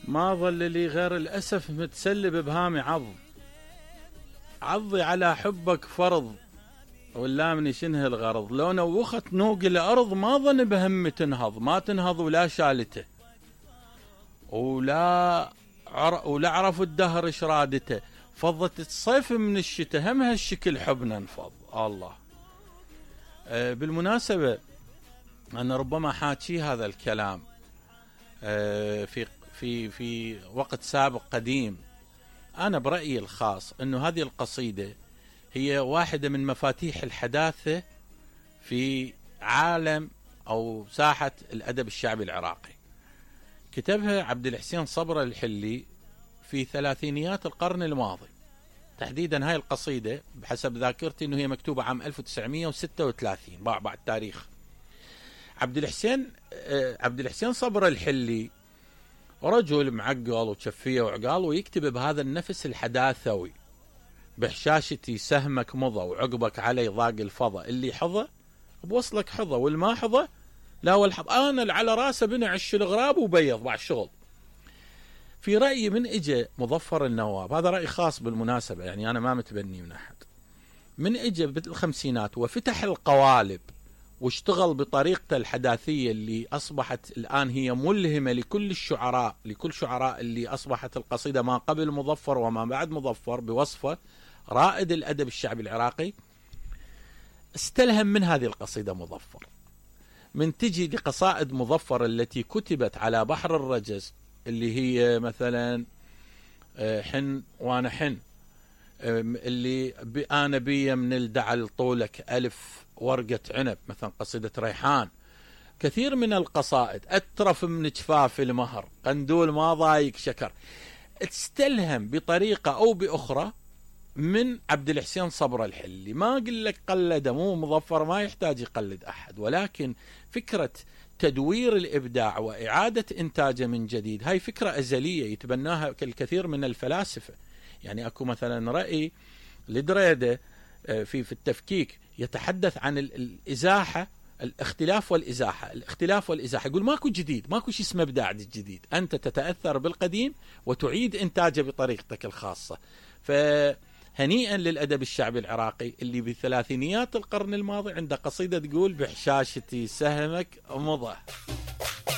ما ظل لي غير الأسف متسلب بهامي عضي على حبك فرض، واللامني شنه الغرض، لو نوخت نوق الأرض ما ظن بهم تنهض، ما تنهض ولا شالته، ولا عرفوا الدهر ايش رادته، فضت الصيف من الشتاء هم هالشكل حبنا نفض الله. بالمناسبة أنا ربما حاكي هذا الكلام في وقت سابق قديم. أنا برأيي الخاص أنه هذه القصيدة هي واحدة من مفاتيح الحداثة في عالم أو ساحة الأدب الشعبي العراقي. كتبها عبد الحسين صبرا الحلي في ثلاثينيات القرن الماضي تحديدا. هاي القصيدة بحسب ذاكرتي أنه هي مكتوبة عام 1936 بعد تاريخ. عبد الحسين صبرا الحلي رجل معقل وشفية وعقال، ويكتب بهذا النفس الحداثوي: بحشاشتي سهمك مضى وعقبك علي ضاق الفضا، اللي حظى بوصلك حظى والما حظى لا والحظ، انا اللي على راسه بنعش الغراب وبيض بعد شغل. في رأيي من اجى مظفر النواب، هذا رأي خاص بالمناسبة يعني انا ما متبني من احد، من اجى بالخمسينات وفتح القوالب واشتغل بطريقته الحداثية اللي أصبحت الآن هي ملهمة لكل شعراء اللي أصبحت القصيدة ما قبل مظفر وما بعد مظفر بوصفه رائد الأدب الشعبي العراقي. استلهم من هذه القصيدة مظفر. من تجي لقصائد مظفر التي كتبت على بحر الرجز اللي هي مثلا حن وانا حن، اللي أنا بي من الدعل طولك ألف ورقة عنب، مثلا قصيدة ريحان. كثير من القصائد أترف من جفاف المهر، قندول ما ضايق شكر، تستلهم بطريقة أو بأخرى من عبد الحسين صبرا الحلي. ما أقول لك قلد، مو مظفر ما يحتاج يقلد أحد، ولكن فكرة تدوير الإبداع وإعادة إنتاجه من جديد هاي فكرة أزلية يتبناها الكثير من الفلاسفة. يعني أكو مثلا رأي لدريدة في التفكيك يتحدث عن الإزاحة، الاختلاف والإزاحة، يقول ماكو جديد، ماكو شيء اسمه إبداع جديد، أنت تتأثر بالقديم وتعيد إنتاجه بطريقتك الخاصة. فهنيئا للأدب الشعبي العراقي اللي بثلاثينيات القرن الماضي عنده قصيدة تقول: بحشاشتي سهمك مضى.